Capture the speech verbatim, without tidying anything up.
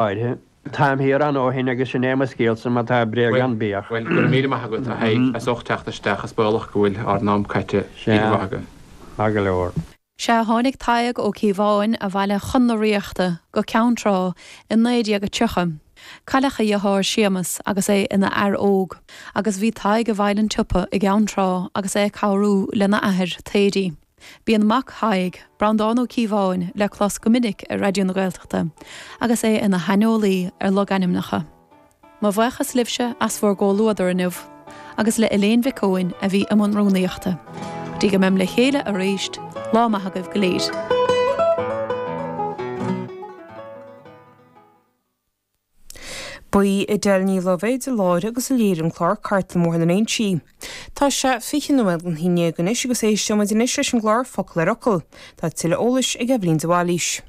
Áirithe. Táim thiar an ó shin agus sin é mo scéalsa má tá bréag ann bíodh. Bhuel, go raibh míle maith agat a Thaidhg as ucht teacht isteach is baolach go bhfuil ár n-am caite. Sea. Míle maith agat. Maith go leor. Sea, tháinig Tadhg Ó Cíobháin abhaile chun na Ríochta go Ceann Trá i naoi déag a tríocha. Cailleadh a dheartháir Séamus agus é ina fhear óg, agus bhí Tadhg i bhfeighil an tsiopa i gCeann Trá agus é ag cabhrú lena athair, Taoidí. Bíonn mac Thaidhg, Breandán Ó Cíobháin, le clos go minic ar Raidió na Gaeltachta agus é ina shaineolaí ar logainmneacha. Mo bhuíochas libhse as bhur gcomhluadar inniu, agus le Elaine Mhic Eoin a bhí i mbun rúnaíochta. Go dtí go mbeimid le chéile arís, lá maith agaibh go léir. Ba í Edel Ní Loibhéid a láithrigh agus a léirigh an clár Cartlann Bhóthar na nInsí. Tá sé fiche nóiméad don haon déag anois agus éisteoimid anois leis an gclár Focal ar Fhocal. Tá tuilleadh eolais ag Eibhlín de Bhailís.